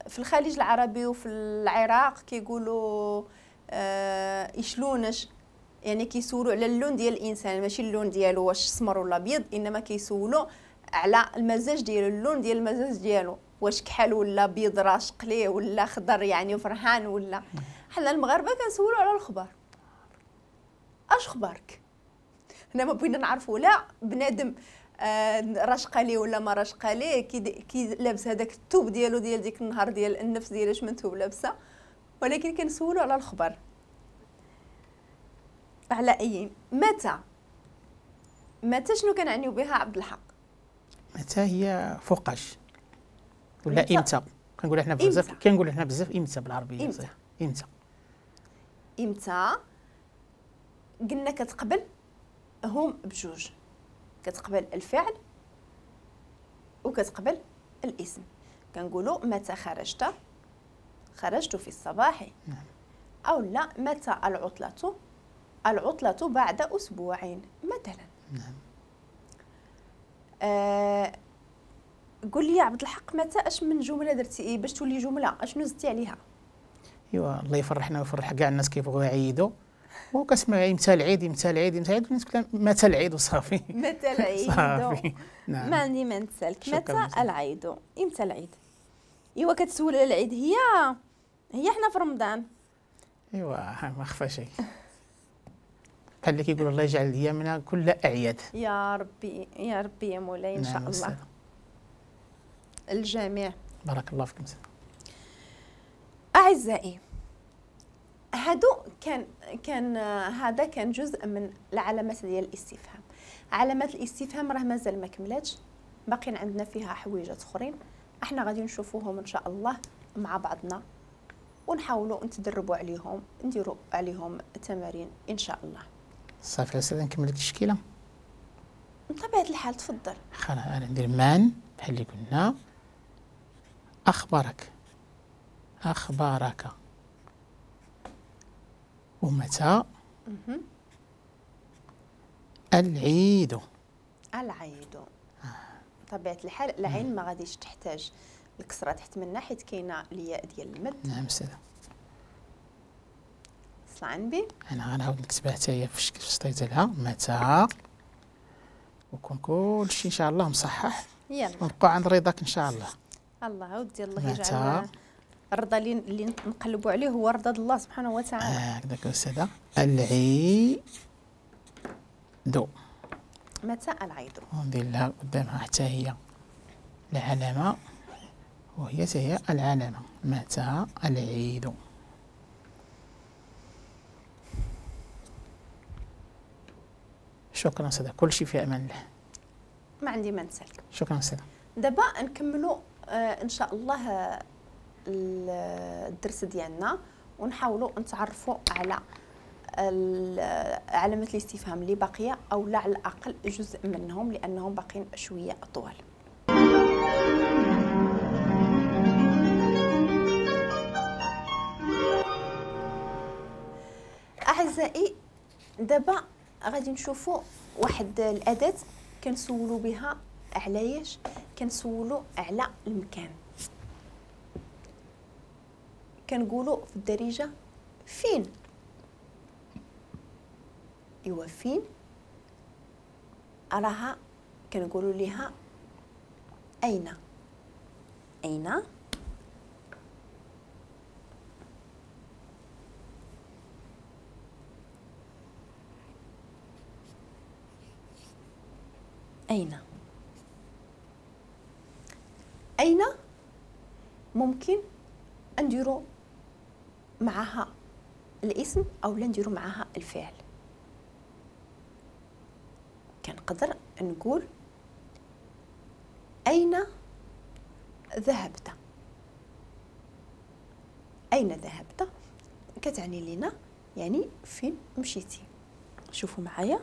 في الخليج العربي وفي العراق كيقولوا يشلونش، يعني كيسولوا على اللون ديال الانسان، ماشي اللون ديالو واش سمر ولا ابيض، انما كيسولوا على المزاج ديالو، اللون ديال المزاج ديالو، واش كحل ولا بيض راشق ليه ولا خضر يعني فرحان ولا. حنا المغاربة كنسولوا على الخبر، اش خبارك؟ حنا ما بغينا نعرفوا لا بنادم راشقه ليه ولا ما راشقه ليه، كي لابس هذاك الثوب ديالو ديال ديك النهار ديال النفس ديالو اش من ثوب لابسه، ولكن كنسولوا على الخبر. على اي متى، متى شنو كنعنيو بها عبد الحق؟ متى هي فوقاش ولا امتى؟ كنقولوا حنا بزاف، كنقولوا حنا بزاف امتى بالعربية. امتى امتى امتى قلنا كتقبل هم بجوج، كتقبل الفعل وكتقبل الاسم. كنقولوا متى خرجت؟ خرجت في الصباح. نعم. او لا متى العطلة؟ العطلة بعد أسبوعين مثلا. نعم. قول لي يا عبد الحق، متى اش من جملة درتي باش تولي جملة؟ اشنو زدتي عليها؟ ايوا الله يفرحنا ويفرح كاع الناس كيبغيو يعيدوا، وكتسمع امتى العيد امتى العيد امتى العيد، الناس كلها متى العيد وصافي. متى العيد صافي. نعم. ما عندي ما نتسالك. متى العيد؟ امتى العيد؟ ايوا كتسول على العيد، هي حنا في رمضان. ايوا ما خفى شيء. بحال اللي كيقولوا الله يجعل ايامنا كل اعياد. يا ربي يا ربي يا مولاي ان شاء الله. أستاذ. الجميع. بارك الله فيكم. اعزائي، هادو كان هذا كان جزء من العلامات ديال الاستفهام. علامات الاستفهام راه مازال ما كملاتش، باقيين عندنا فيها حويجات اخرين، احنا غادي نشوفوهم ان شاء الله مع بعضنا ونحاولوا نتدربوا عليهم، نديروا عليهم تمارين ان شاء الله. صافي استاذ نكمل لك التشكيلة. بطبيعة الحال تفضل. خلاص انا ندير من بحال اللي قلنا. اخبارك، اخبارك، ومتى العيد. العيد. بطبيعة الحال العين ما غاديش تحتاج الكسرة تحت منها حيت كاينه الياء ديال المد. نعم استاذه. صلى على النبي. انا غنعاود نكتبها حتى هي في الشكل ديالها متى، ويكون كلشي ان شاء الله مصحح. يلا ونبقاو عند رضاك ان شاء الله. الله ودي الله يجعل الرضا اللي نقلبوا عليه هو رضا الله سبحانه وتعالى. هكذاك استاذه. العيد. متى العيد؟ وندير لها قدامها حتى هي العلامة، وهي هي العلامة متى العيد. شكرا استاذه، كل شيء في امان الله. ما عندي ما نسالك. شكرا استاذه. دابا نكملوا ان شاء الله الدرس ديالنا ونحاولوا نتعرفوا على علامة الاستفهام اللي باقية، او لا على الاقل جزء منهم لانهم باقيين شوية اطول. اعزائي، دابا غادي نشوفوا واحد الاداة كنسولوا بها علاش؟ كنسولوا على المكان. كنقولوا في الدارجة فين. ايوا فين راها كنقولوا ليها اين. اين اين. اين ممكن نديرو معها الاسم او لا نديرو معها الفعل. كنقدر نقول اين ذهبت. اين ذهبت كتعني لنا يعني فين مشيتي. شوفوا معايا.